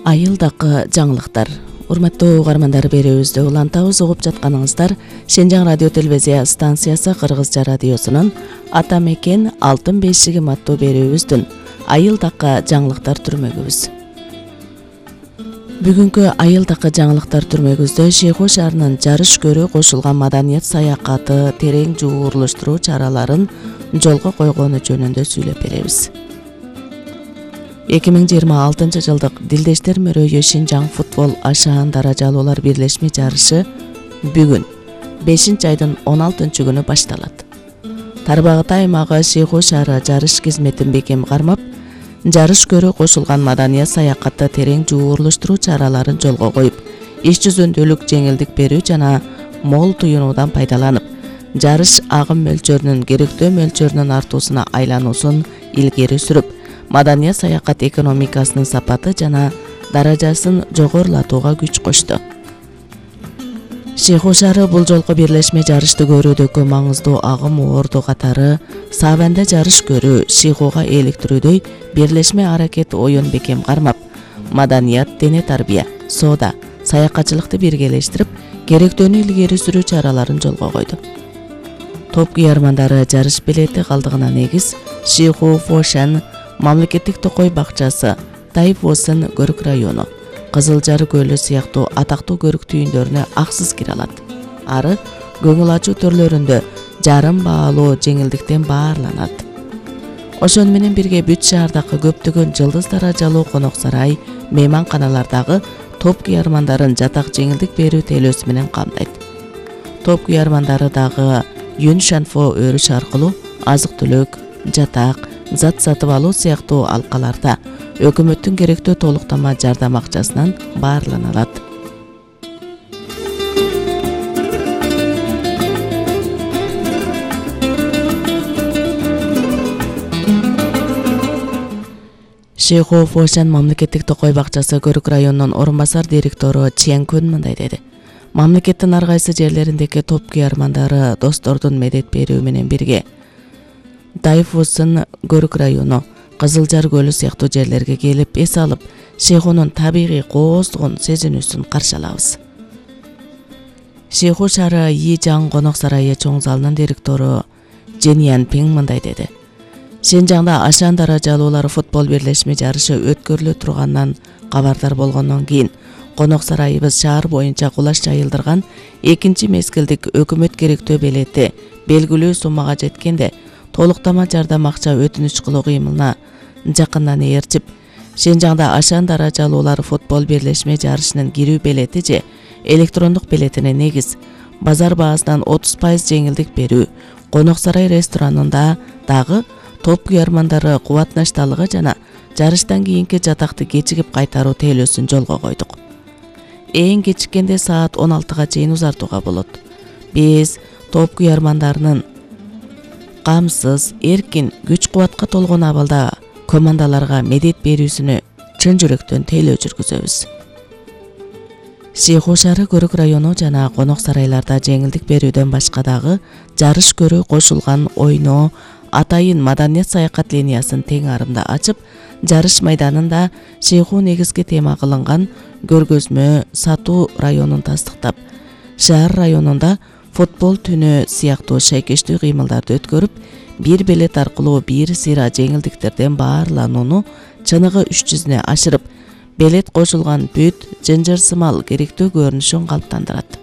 Айылдакы жаңылыктар. Урматтуу угармандар, берүүбүздү улантабыз. Угуп жатканыңыздар Шенжаң радио телевизия станциясы Кыргызча радиосунун Ата мекен алтын бешигим аттуу берүүбүздүн Айылдакы жаңылыктар түрмөгүбүз. Бүгүнкү Айылдакы жаңылыктар түрмөгүбүздө Шейху шаарынын жарыш көрүү кошулган маданият саякаты терең жуурлуштуруу чараларын жолго койгону жөнүндө сүйлөп беребиз. 2026 жылдык Дилдештер мөрөйү Шенжаң футбол ашаан даражалуулар бирлешме жарышы бүгүн 5-айдын 16-күнү башталат. Тарбагытай аймагы Шейху шаары жарыш кызметін бекем кармап, жарыш көрүү кошулган маданият саякатты терең жуурлуштуруу чараларын жолго коюп, иш жүзүндөлүк жеңилдик берүү жана мол туюнуудан пайдаланып, жарыш агым мөлчөрүнүн керектөө мөлчөрүнүн артуусуна айлануусун илгери сүрүп, маданият саякат экономикасынын сапаты жана даражасын жогорулатууга күч кошту. Шейху шаары бул жолку бирлешме жарышты көрүүдөгү маңыздуу агым орду катары Сабанда жарыш көрүү, Шейхуга eelиктирүүдөй бирлешме аракет оюн бекем кармап, маданият, дене тарбия, соода, саякатчылыкты биргелештирип, керектөөнү илгери сүрүү чараларын жолго койду. Топ күйөрмандары жарыш билети калдыгына негиз Шейху Фошан мамлекеттик токой бакчасы, Тайфосын көрүк району, Кызылжар көлү сыяктуу атактуу көрүк түйүндөрүнө аксыз кире алат. Ары көңүл ачуу төрлөрүндө жарым баалуу жеңилдиктен баарланат. Ошону менен бирге бүт шаардагы көптөгөн жылдыз даражалуу конок сарай, мейманканалардагы топ күйөрмандарын жатак жеңилдик берүү тейлөөсү менен камтайт. Топ күйөрмандары дагы Юн Шанфо өрүш аркылуу азык-түлүк, жатак, зат сатып алуу сыяктуу алкаларда өкмөттүн керектөө толуктама жардам акчасынан баарлана алат. Шейху Фошан мамлекеттик токой бакчасы көрүк районунун орун басар директору Чен Күн мындай деди. Мамлекеттин ар кайсы жерлериндеги топ күйөрмандары достордун медет берүү менен бирге Тайфосын көрүк району, Кызылжар көлү сыяктуу жерлерге келип эс алып, Шейхунун табигый кооздугун сезинүүсүн каршы алабыз. Шейху шаары Йижаң конок сарайы чоң залынын директору Жен Янпин мындай деди. Шенжаңда ашаан даражалуулар футбол бирлешме жарышы өткөрүлө турганынан кабардар болгондон кийин конок сарайыбыз шаар боюнча кулаш жайылдырган экинчи мезгилдик өкмөт керектөө белети белгилүү суммага жеткенде толуктама жардам акча өтүнүч кылуу кыймылына жакындан ээрчип, Шенжаңда ашаан даражалуулар футбол бирлешме жарышынын кирүү белети же электрондук белетине негиз базар баасынан 30% жеңилдик берүү, конок сарай ресторанында дагы топ күйөрмандары кубатнашталыгы жана жарыштан кийинки жатакты кечигип кайтаруу тейлөөсүн жолго койдук. Эң кечиккенде саат 16-га чейин узартууга болот. Биз топ күйөрмандарынын камсыз, эркин, күч-кубатка толгон абалда командаларга медет берүүсүнө чын жүрөктөн тейлөө жүргүзөбүз. Шейху шаары көрүк району жана конок сарайларда жеңилдик берүүдөн башка дагы жарыш көрүү кошулган ойноо, атайын маданият саякат линиясын тең арымда ачып, жарыш майданында Шейху негизги тема кылынган көргөзмө сатуу районун тастыктап, шаар районунда футбол түнү сыяктуу шайкештүү кыймылдарды өткөрүп, бир билет аркылуу бир сыйра жеңилдиктерден баарланууну чыныгы 300-не ашырып, билет кошулган бүт жынжырсымал керектөө көрүнүшүн калыптандырат.